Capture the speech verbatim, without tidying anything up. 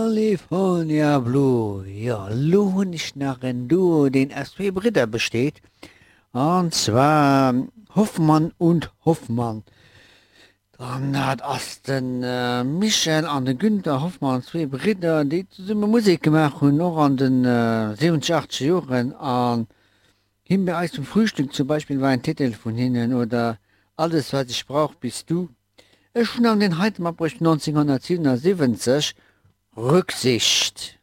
California Blue, jo elo hunn ech nach en Duo deen aus zwee Bridder besteet an zwar Hoffmann und Hoffmann. An dat ass de Michel an de Günther Hoffmann, zwee Bridder déi zesumme Musek gemaach hunn och an de siwwenzeg achtzeger Joren an Himbeereis zum Frühstück zum Beispill war en Titel vun hinnen oder Alles was ich brauch bist du. Ech hunn an deen heite matbruecht vun neunzehnhundertsiewenundsiwwenzeg, Rücksicht.